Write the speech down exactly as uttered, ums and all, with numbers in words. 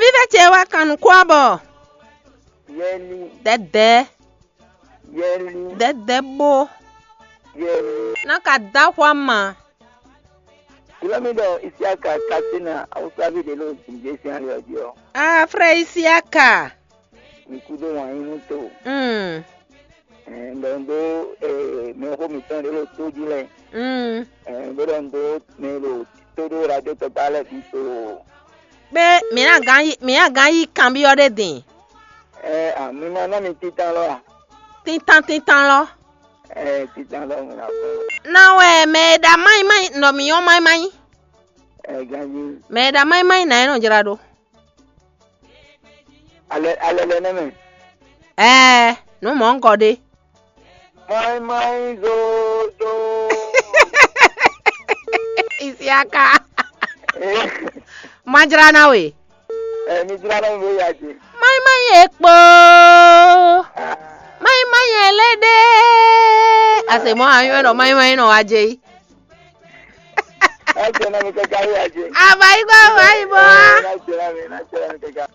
Vívɛ ce wá kan nukún abɔ. Yɛli, dɛdɛ, yɛli, dɛdɛ bó. Yɛli. Ná ka dá xwá ma. Gblɔ mi ɖɔ Isiaka Kasina Awusavi ɖe ɖo Zinjé sín ali ɔ́ jí ɔ́. Ah, frère Isiaka. Mi kúdó wǎn yí nú to. Mm. Ɛɛ, ɖɔ un ɖó, ɛɛ, mɛxó mǐtɔn ɖě ɖo tó jí lɛ́ɛ. Mm. Ɛɛ, bó ɖɔ un ɖó mɛ ɖo tó ɖó radio tɔgba lɛ́ɛ bǐ so. Bé, mǐ ná gán yí, mǐ ná gán yí kanbyɔ́ ɖé din. Ɛɛ, a, mi ma ná mi títán lɔ a? Títán títán lɔ. Ɛɛ, títán lɔ mi ná fún. Ná wɛ mɛ e ɖa mányi mányi nɔ mǐ nyɔ́ mányi mányi. Ɛɛ, ganjí. Mɛ e ɖa mányi mányi nǎ é nɔ jlá ɖó. Alɛ, alɛ lɛ nɛ́ mɛ. Ɛɛ, nǔ mɔ̌ un kɔ ɖe. Mɔ́ mɔ́ zozo. Isiaka. Má jlá ná we. Ɛ, mi jlá ná mi ya ce. Má má yɛ kpó. Má má yɛ lé ɖé. Ase mɔ anyɔ nɔ má má nɔ wá jɛ yi. Ɛ jɛ na mi kaka ya ce. Aba yi gba aba yi bɔ. Ɛ, na jɛ na mi, na jɛ na mi kaka.